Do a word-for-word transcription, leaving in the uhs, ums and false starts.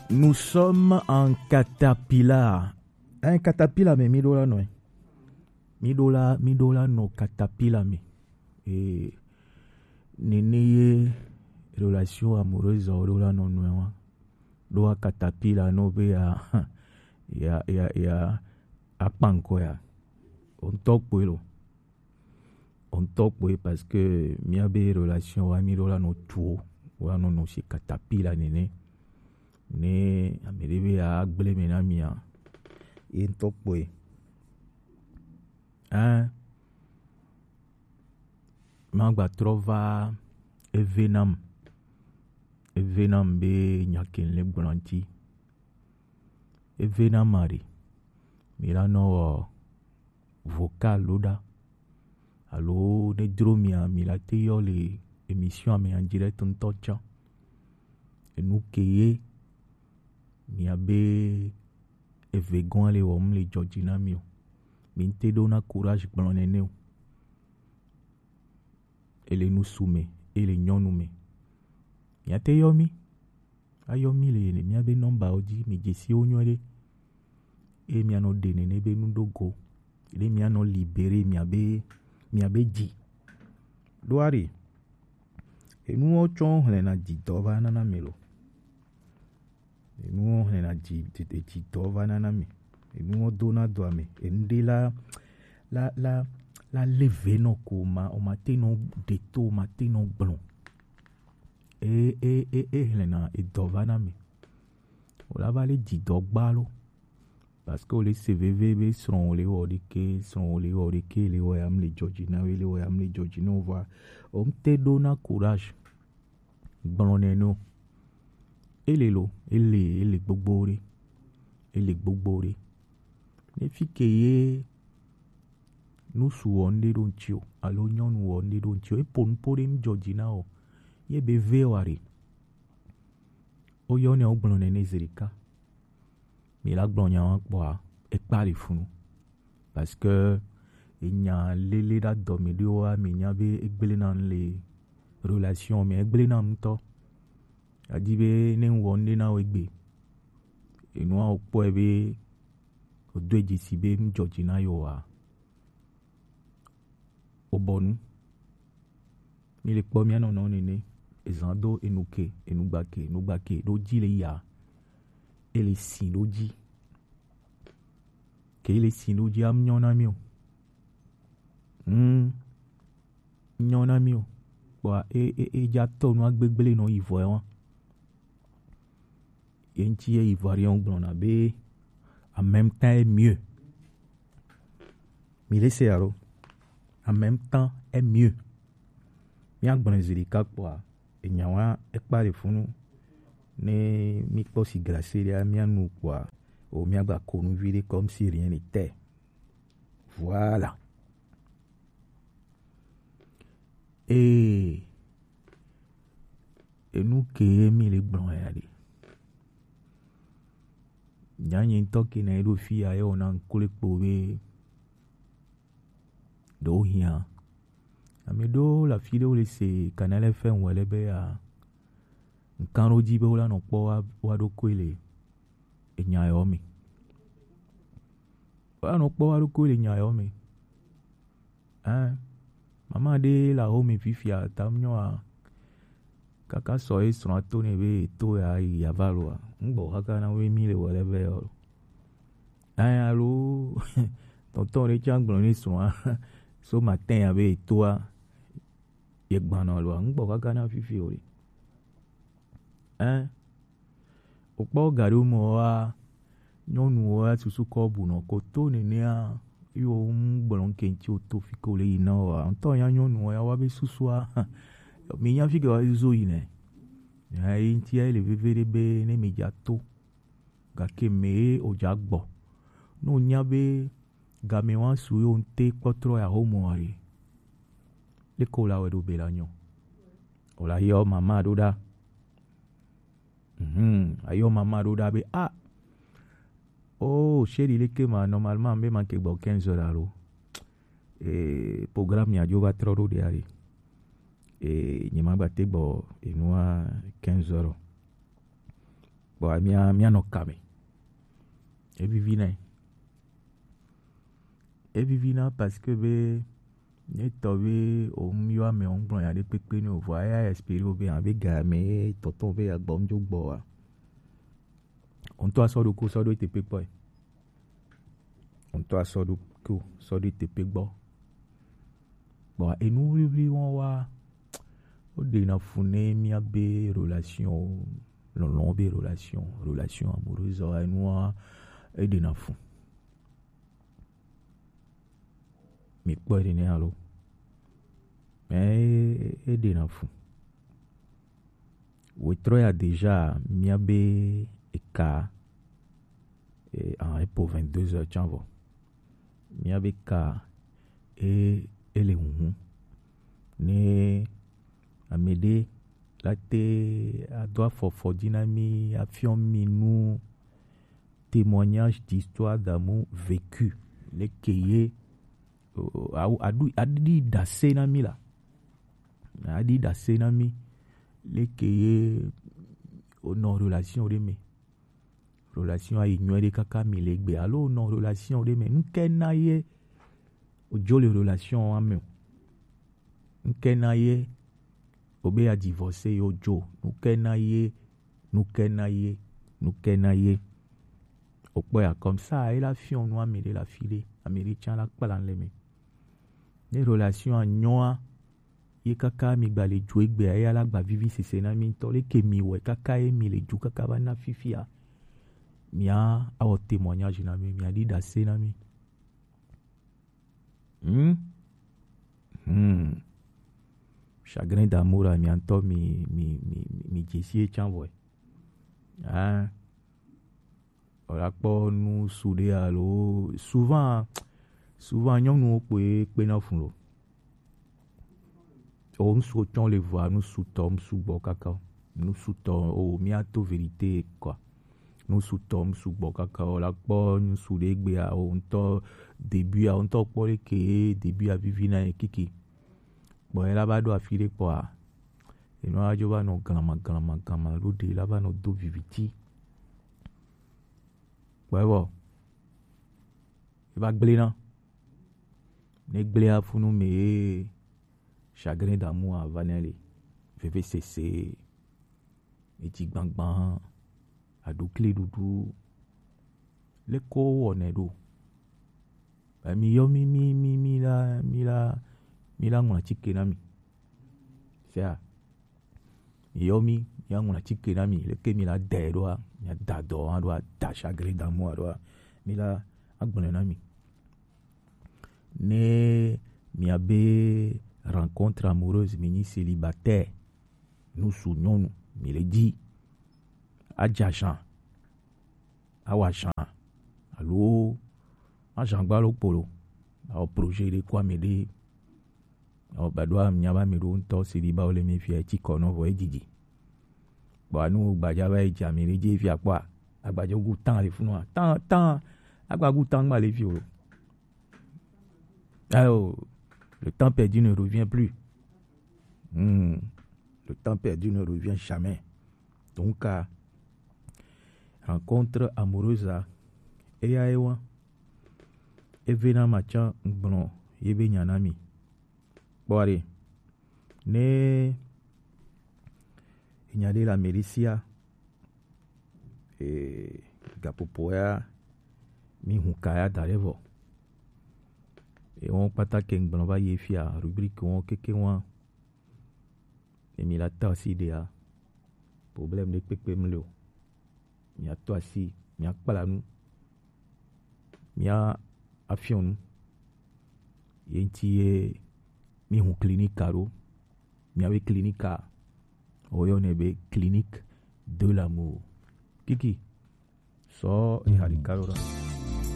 Nous sommes en caterpillar. Un caterpillar, mais mi ɖo la nɔ. Mi ɖo la, mi ɖo la nɔ caterpillar me. Et nene ye relation amoureuse o ɖo la nɔ nɔ wa. Ɖo a caterpillar no be ya, ya, ya, ya, akpanko ya. O ŋutɔ kpoe lo. O ŋutɔ kpoe parce que mía be relation wa mi ɖo la nɔ tuo, wa nɔ nɔ si caterpillar nene. Ne ame ɖe be ya gblẽ me na mia, ye ŋutɔ kpɔe. Hein? Magba trɔ va eve nam. Eve nam be nya ke le gblɔ ŋuti. Eve nam aɖe. Mi la nɔ wɔ vocal lo ɖa. Alo ne dro mia, mi la te yɔ le émission ame en direct ŋutɔ tsã. Enu ke ye mia be eve gɔn le wɔm le dzɔdzi na mi o. Mi te ɖo na courage gblɔ nene o. Ele nusu me, ele nyɔnu me. Mia te yɔ mi. Ayɔ mi le mia be nɔmba wo dzi, mi dzesi wo nyuie ɖe. Eye mia nɔ ɖe nene be nu ɖo go. Ɖe mia nɔ libéré mia be, mia be dzi. Ɖo ari. Enuwo tsɔ hlɛna dzidɔ va nana mi lo. Enuwo hlɛna dzi, dzi, dzidɔ va nana mi. Enuwo dona do ame. Enu ɖe la, la, la, la leve nɔ ko ma, o ma te nɔ ɖe to, o ma te nɔ gblɔ. E, e, e, e hlɛna edɔ va na mi. O la va le dzidɔ gba lo. Parce que o le se veve be srɔ̃ o le wɔ ɖeke, srɔ̃ o le wɔ ɖeke, le wɔ ya mi le dzɔdzi na we, le wɔ ya mi le dzɔdzi na o va. O ŋute ɖo na courage. Gblɔ nɛ no. Ele lo, ele, ele gbogbo ɖe. Ele gbogbo ɖe. Ne fi ke ye nusu wɔ ŋɖe ɖo ŋtsi o, alo nyɔnu wɔ ŋɖe ɖo ŋtsi o, epo nupo ɖe mi dzɔdzi na o. Ye be ve wa ɖe. O yɔ nɛ o gblɔ nɛ ne zi ɖeka. Mi la gblɔ nya wa kpɔa, ekpa le funu. Parce que enya lele ɖa dɔ mi ɖewo wa mi nya be egble na le relation mi, egble na ŋutɔ. Adi be ne ŋwɔ ŋɖe na wo egbe. Enua o kpɔe be o do edzi si be mi dzɔdzi na yo wa. O bɔ nu. Mi le kpɔ mia nɔnɔ nene. Ezan do enu ke, enu gba ke, enu gba ke. Ɖo dzi le ya. E le si ɖo dzi. Ke e le si ɖo dzi am nyɔ na mi o. Hmm. Nyɔ na mi o. Kpɔa e, e, e dza tɔ nu agbegble nɔ yi vɔ ya wa. Ye ŋuti ye Ivoirien gblɔna be en même temps est mieux. Mi le se alo? En même temps est mieux. Mia gblɔ zi ɖeka kpɔa, enya wa ekpa le funu. Ne mi kpɔ si glase ɖea, mia nu kpɔa, o mia gba ko nu vi ɖe comme si rien n'était. Voilà. Ee, enu ke ye mi le gblɔ ya ɖe. Nyanyi ŋutɔ ke na ye ɖo fi ya ye wòna ŋkle kpo be ɖewo hiã. Ame ɖewo le afi ɖewo le se Canal F M wɔ le be ya ŋkan ɖo dzi be wola nɔ kpɔ wa, wa ɖokui le enya yɔ me. Wola nɔ kpɔ wa ɖokui le enya yɔ me. Hein? Mama ɖe le axome fifia, ta nyɔa, kaka sɔ ye srɔ̃a to nɛ be to ya yi ava loa. Ŋgbɔ kaka na wo mi le wɔ le be yɔ. Hein, alo, tɔntɔn ɖe tsã gblɔ ne srɔ̃a, so matin ya be toa, ye gbanɔ loa. Ŋgbɔ kaka na fifi o ɖe. Hein? Wokpɔ ga ɖewo me wa, nyɔnuwo ya susu kɔ bu nɔ ko to nenea, yo ŋu gblɔ ŋke ŋti wo to fi ke wo le yi na wa. Ŋutɔ nya nyɔnuwo ya wa be susua, mi nya fi ke wa zo yi nɛ. Ya yi ŋti ya le veve ɖe be ne mi dza to. Gake me ye o dza gbɔ. Ne o nya be game wa su yo ŋte kpɔtrɔ ya ho mo wa ɖe. Leke wo la wɛ ɖo be la nyɔ. O la yɔ mama ɖo ɖa. Mhm, ayɔ mama ɖo ɖa be, ah, oh, chéri, leke ma, normalement, be ma ke gbɔ quinze heures alo. Eh, programme ya dzo va trɔ ɖo ɖe ari. Eh, nye ma gba te gbɔ enua quinze heures. Bon, mia mia nɔ kame. Evivi nɛ. Evivi na parce que be ne tɔ be o mu yɔ ame o gblɔ ya ɖe kpekpe ne o vɔ ya espérer o be ya be ga me tɔtɔ be ya gbɔ ŋdzo gbɔ wa. O ŋutɔ asɔ ɖo ko sɔ ɖo ete kpekpe. O ŋutɔ asɔ ɖo ko sɔ ɖo ete kpekpe gbɔ. Bon, enu wliwli wɔn wa, woɖena fu ne míabe relation, lɔlɔ̃ be relation, relation amoureuse wa, enua, eɖena fu. Mi kpɔe ɖe ne alo? Mais eɖena fu. Wetrɔ ya déjà míabe eka, eh, en po vingt-deux heures tsã vɔ. Míabe ka e ele huhu. Ne ame ɖe la te ado afɔfɔ dzi na mí, afiɔ mí nu témoignage d'histoire d'amour vécu. Leke ye, o, o, awu, aɖu, aɖi ɖase na mí la. Aɖi ɖase na mí. Leke ye wonɔ relation ɖe me. Relation ayi nyuie ɖe kaka mi le gbe. Alo wonɔ relation ɖe me. Nuke na ye odzo le relation wa me o? Nuke na ye obe ya divorce yo dzo? Nuke na ye, nuke na ye, nuke na ye? Okpɔ ya comme ça, ela fiɔ nu ame ɖe la fi ɖe, ame ɖe tsã la kpla le me. Ne relation a nyɔa, ye kaka mi gba le dzo egbe, eya la gba vivi sese na mi ŋutɔ. Leke mi wɛ kaka ye mi le dzo kaka va na fifia? Mia awɔ témoignage na mi, mia ɖi ɖase na mi. Hmm? Hmm. Chagrin d'amour a mia ŋutɔ mi, mi, mi, mi, mi dze si ye tsã vɔe. Ah. Wòla kpɔ nu su ɖe alo souvent, souvent nyɔnuwo kpoe kpena fu lo. O ŋsu tsɔ le vɔa, nu su tɔ ŋsu gbɔ kaka o. Nu su tɔ o, mía to vérité quoi. Nu su tɔ ŋsu gbɔ kaka o. La kpɔ nu su ɖe gbea o ŋutɔ début a o ŋutɔ kpɔ ɖe ke début a vivi na ye kiki. Kpɔ ye la va ɖo afi ɖe kpɔa, enua dzo va nɔ glama glama glama ɖo ɖe la va nɔ do viviti. Kpɔe vɔ, e va gblẽ na. Ne gblẽa funu me ye chagrin d'amour a va nɛ le. Vevesese, edzigbagba, aɖukli ɖuɖu. Leke wowɔnɛ ɖo? Ba mi yɔ mi mi mi mi la mi la mi la ŋlɔ atike na mi. Sea, mi yɔ mi, mi la ŋlɔ atike na mi. Leke mi la dɛ ɖoa, mi la da dɔ hã ɖoa, da chagrin d'amour ɖoa, mi la agblɔe na mi. Ne miabe rencontre amoureuse, mi nyi célibataire, nu su nyɔnu, mi le dzi, adza zan, awa zan, alo azan gba lo kpo lo, awɔ projet ɖe ko ame ɖe, awɔ ba ɖo ame nya ba ame ɖo ŋutɔ célibat wo le mi fia etsi kɔ nɔ vɔ edzidzi. Bon, anu gbadza va yi dza mi ɖe dzi fia kpɔa, agbadza gu tan le funua, tan, tan, agba gu tan gba le fi o. Alors, le temps perdu ne revient plus. Hmm. Le temps perdu ne revient jamais. Donc, euh, rencontre amoureuse là, eya ye wa, eve na matsa gblɔ ye be nya na mi. Kpɔ ɖe, ne enya ɖe le ame ɖe sia, eh, gaƒoƒo ya, mi hu ka ya da ɖe vɔ. Eye wɔn kpata ke ŋgblɔ va yi fia, rubrique wɔn keke wɔn. Ne mi la tɔ asi ɖea, problème ɖe kpekpe mli o. Mia tɔ asi, mia kpla nu, mia afiɔ nu. Ye ŋuti ye mi hu clinique ɖo. Miabe clinique a, woyɔnɛ be clinique de l'amour. Kiki, sɔ eha ɖeka ɖo ɖa.